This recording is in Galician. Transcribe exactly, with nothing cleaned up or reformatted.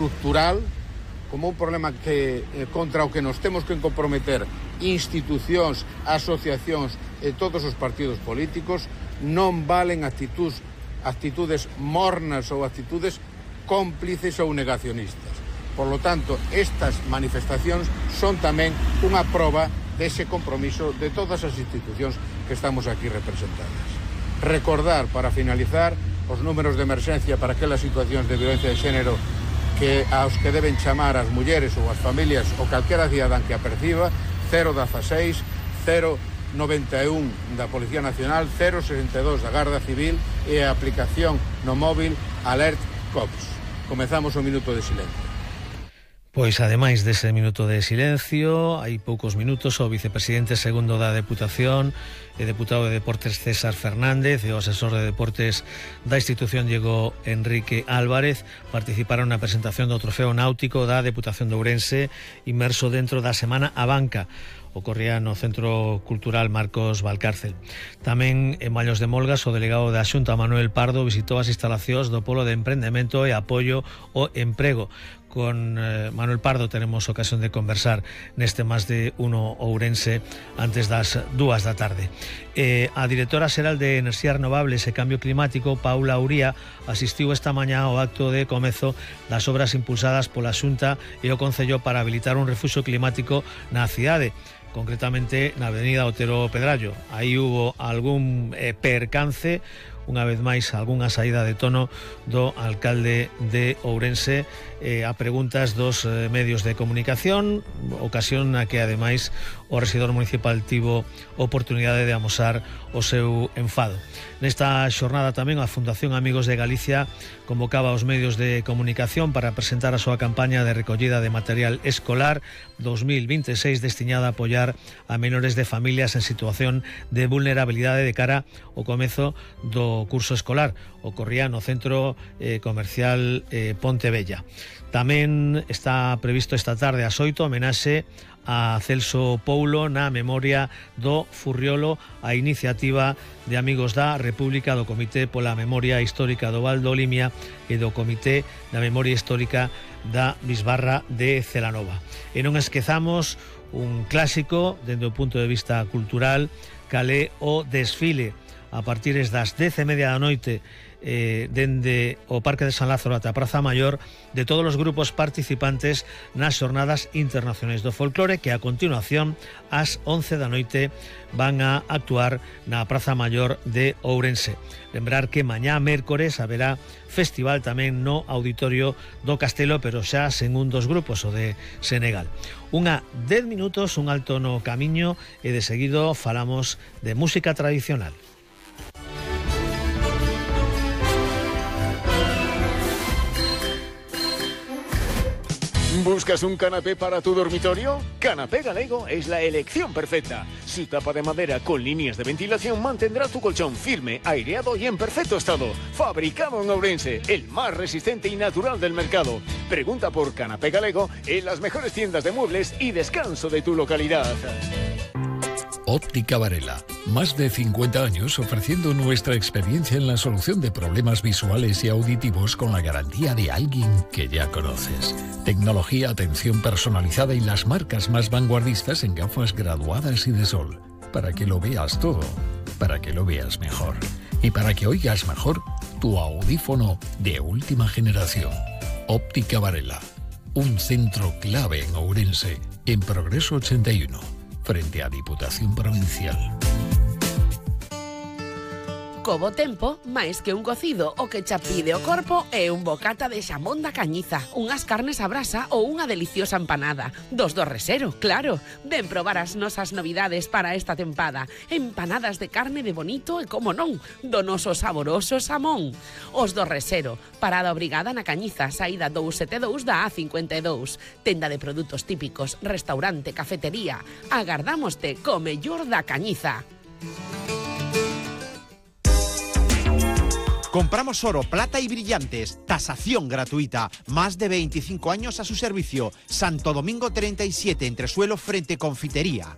estructural, como un problema que eh, contra o que nos temos que comprometer institucións, asociacións e todos os partidos políticos. Non valen actitudes, actitudes mornas ou actitudes cómplices ou negacionistas. Por lo tanto, estas manifestacións son tamén unha proba dese compromiso de todas as institucións que estamos aquí representadas. Recordar, para finalizar, os números de emerxencia para aquelas situacións de violencia de xénero que aos que deben chamar as mulleres ou as familias ou calquera cidadán que a perciba, cero dieciséis, cero noventa e un da Policía Nacional, cero sesenta e dos da Garda Civil e a aplicación no móvil Alert Cops. Comezamos o minuto de silencio. Pois, ademais dese minuto de silencio, hai poucos minutos o vicepresidente segundo da Deputación e deputado de Deportes César Fernández e o asesor de Deportes da institución Diego Enrique Álvarez participaron na presentación do trofeo náutico da Deputación de Ourense inmerso dentro da Semana a Banca. Ocorría no Centro Cultural Marcos Valcárcel. Tamén en Mallos de Molgas o delegado da Xunta Manuel Pardo visitou as instalacións do Polo de Emprendemento e Apoio ao Emprego. Con eh, Manuel Pardo tenemos ocasión de conversar neste Más de Uno Ourense antes das dúas da tarde. Eh, a directora xeral de Enerxías Renovables e Cambio Climático, Paula Uría, asistiu esta mañá ao acto de comezo das obras impulsadas pola Xunta e o Concello para habilitar un refuxio climático na cidade, concretamente na avenida Otero Pedrallo. Aí hubo algún eh, percance, unha vez máis algunha saída de tono do alcalde de Ourense eh, a preguntas dos eh, medios de comunicación, ocasión na que ademais o rexedor municipal tivo oportunidade de amosar o seu enfado. Nesta xornada tamén a Fundación Amigos de Galicia convocaba aos medios de comunicación para presentar a súa campaña de recollida de material escolar dos mil vinte e seis destinada a apoiar a menores de familias en situación de vulnerabilidade de cara ao comezo do curso escolar. Ocorría no Centro eh, Comercial eh, Pontevella. Tamén está previsto esta tarde ás oito homenaxe a Celso Poulo na memoria do Furriolo, a iniciativa de Amigos da República, do Comité pola Memoria Histórica do Val do Limia e do Comité da Memoria Histórica da Bisbarra de Celanova. E non esquezamos un clásico dende o punto de vista cultural, calé o desfile a partir das dez e media da noite eh, dende o Parque de San Lázaro ata a Praza Maior de todos os grupos participantes nas Xornadas Internacionais do Folclore, que a continuación ás once da noite van a actuar na Praza Maior de Ourense. Lembrar que mañá mércores haberá festival tamén no Auditorio do Castelo, pero xa sen un dos grupos, o de Senegal. Unha dez minutos, un alto no camiño e de seguido falamos de música tradicional. ¿Buscas un canapé para tu dormitorio? Canapé Galego es la elección perfecta. Su tapa de madera con líneas de ventilación mantendrá tu colchón firme, aireado y en perfecto estado. Fabricado en Ourense, el más resistente y natural del mercado. Pregunta por Canapé Galego en las mejores tiendas de muebles y descanso de tu localidad. Óptica Varela, más de cincuenta años ofreciendo nuestra experiencia en la solución de problemas visuales y auditivos con la garantía de alguien que ya conoces. Tecnología, atención personalizada y las marcas más vanguardistas en gafas graduadas y de sol. Para que lo veas todo, para que lo veas mejor. Y para que oigas mejor tu audífono de última generación. Óptica Varela, un centro clave en Ourense, en Progreso ochenta y uno. Frente a Diputación Provincial. Co bo tempo, máis que un cocido, o que xa pide o corpo é un bocata de xamón da Cañiza, unhas carnes a brasa ou unha deliciosa empanada. Dos do Resero, claro. Ven probar as nosas novidades para esta tempada. Empanadas de carne de bonito e, como non, do noso saboroso xamón. Os do Resero, parada obrigada na Cañiza, saída dous sete dous da A cincuenta e dous. Tenda de produtos típicos, restaurante, cafetería. Agardámoste co mellor da Cañiza. Compramos oro, plata y brillantes. Tasación gratuita. Más de veinticinco años a su servicio. Santo Domingo treinta y siete, Entresuelo frente Confitería.